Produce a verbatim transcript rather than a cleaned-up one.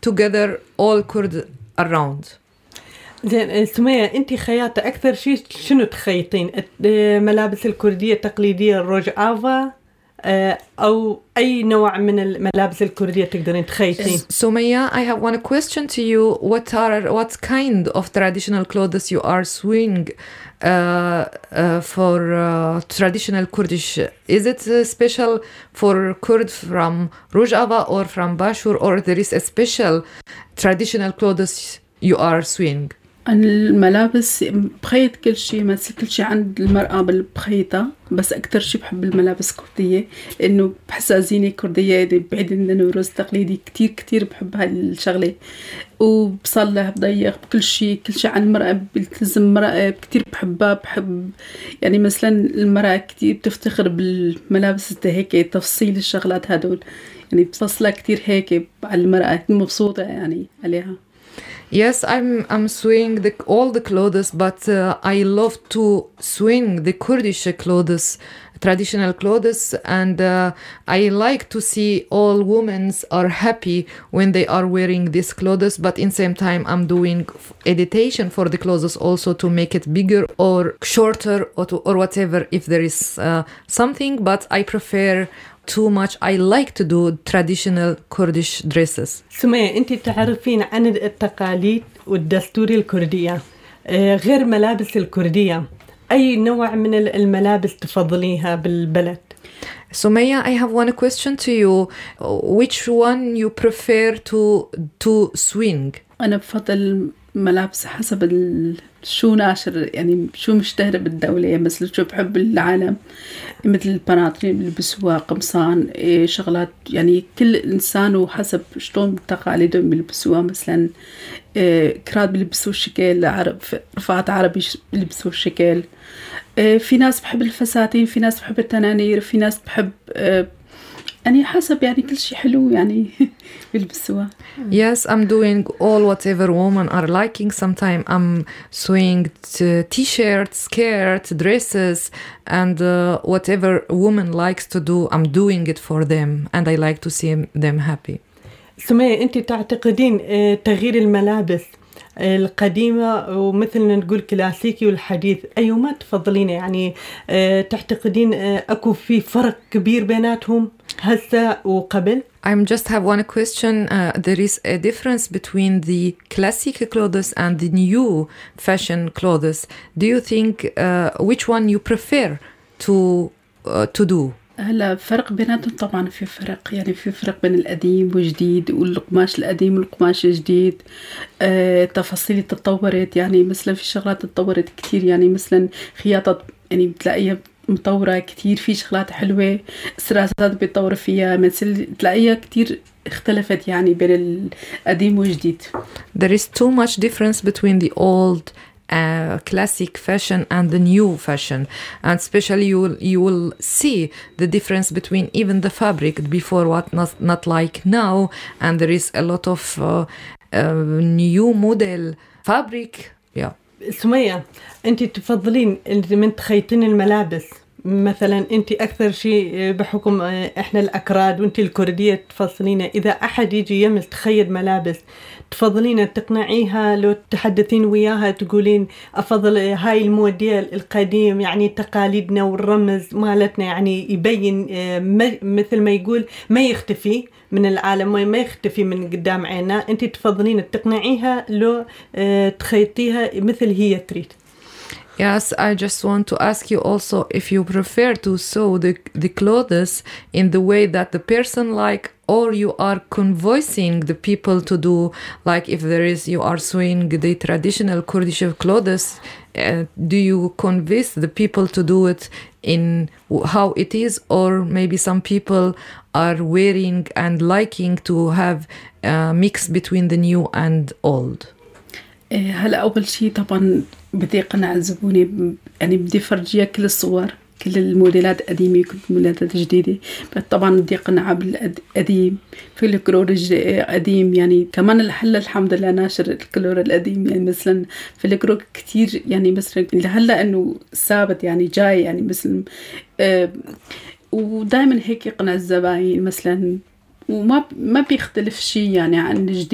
together all Kurd around. زين سمية، أنت خياطة أكثر شيء شنو تخيطين؟ ملابس الكردية التقليدية الروجافا أو أي نوع من الملابس الكردية تقدرين تخيطين؟ Sumaya, I have one question to you. What are what kind of traditional clothes you are sewing uh, uh, for uh, traditional Kurdish? Is it uh, special for Kurd from Rojava or from Bashur, or there is a special traditional clothes you are sewing? الملابس بخيط كل شيء، مثل كل شيء عند المرأة بالبخيطة، بس أكتر شيء بحب الملابس كردية لأنه بحسها زينة كردية بعيد إنه رز تقليدي. كتير كتير بحب هالشغلة، وبصلح بضيق بكل شيء. كل شيء عن المرأة بيلتزم المرأة كتير بحبها. بحب يعني مثلا المرأة كتير بتفتخر بالملابس هيك تفصيل الشغلات هدول، يعني بفصلها كتير هيك على المرأة مبسوطة يعني عليها. Yes, I'm I'm sewing the, all the clothes, but uh, I love to swing the Kurdish clothes, traditional clothes, and uh, I like to see all women are happy when they are wearing these clothes. But in same time, I'm doing editation for the clothes also to make it bigger or shorter or to, or whatever if there is uh, something. But I prefer too much. I like to do traditional Kurdish dresses. سمية، أنت تعرفين عن التقاليد والدستور الكردية غير ملابس الكردية، أي نوع من الملابس تفضليها بالبلد؟ Sumaya, I have one question to you. Which one you prefer to to swing? أنا بفضل ملابس حسب شو ناشر، يعني شو مشتهر بالدولة. مثل شو بحب العالم، مثل البناطيل بيلبسوها، قمصان، إيه شغلات، يعني كل إنسان وحسب شلون تقاليدهم بيلبسوها. مثلا إيه كراد بيلبسوا شكل، عرب رفعات عربي بيلبسوا شكل. إيه في ناس بحب الفساتين، في ناس بحب التنانير، في ناس بحب إيه يعني حسب، يعني كل شيء حلو يعني بيلبسوها. Yes, I'm doing all whatever women are liking. Sometimes I'm sewing t- t-shirts, skirts, dresses, and uh, whatever woman likes to do, I'm doing it for them, and I like to see them happy. سمية، أنت تعتقدين تغيير الملابس القديمة ومثلنا نقول كلاسيكي والحديث أيهما تفضلين؟ يعني تعتقدين أكو في فرق كبير بيناتهم هسه وقبل؟ I just have one question. Uh, there is a difference between the classic clothes and the new fashion clothes. Do you think uh, which one you prefer to uh, to do? هلا فرق بيناتهم طبعا، في فرق، يعني في فرق بين القديم والجديد، والقماش القديم والقماش الجديد. آه، تفاصيل تطورت، يعني مثلا في شغلات تطورت كتير، يعني مثلا خياطة يعني بتلاقيها مطورة كتير، في شغلات حلوة، السراسات بيتطور فيها، مثل تلاقيها كتير اختلفت يعني بين القديم والجديد. There is too much difference between the old Uh, classic fashion and the new fashion, and especially you will, you will see the difference between even the fabric before what not, not like now, and there is a lot of uh, uh, new model fabric. Yeah. سمية، أنت تفضلين من تخيطين الملابس مثلا، أنت أكثر شيء بحكم إحنا الأكراد وأنت الكردية تفضلين إذا أحد يجي يمس تخيط ملابس تفضلين تقنعيها لو تحدثين وياها تقولين أفضل هاي الموديل القديم، يعني تقاليدنا والرمز مالتنا، يعني يبين مثل ما يقول ما يختفي من العالم، ما يختفي من قدام عيننا. أنت تفضلين تقنعيها لو تخيطيها مثل هي تريد. Yes, I just want to ask you also if you prefer to sew the, the clothes in the way that the person like, or you are convincing the people to do, like if there is, you are sewing the traditional Kurdish clothes, uh, do you convince the people to do it in how it is, or maybe some people are wearing and liking to have a mix between the new and old? هلا أول شيء طبعا بدي أقنع الزبونة، يعني بدي فرجيها كل الصور، كل الموديلات قديمة كل الموديلات جديدة. طبعا بدي أقنعها بالقديم، في الكلور قديم، يعني كمان الحلة الحمد لله ناشر الكلور القديم، يعني مثلا في الكلور كتير، يعني مثلا لهلا إنه ثابت يعني جاي، يعني مثلا آه ودائما هيك يقنع الزباين مثلا، وما ما بيختلف شيء يعني عن الجديد.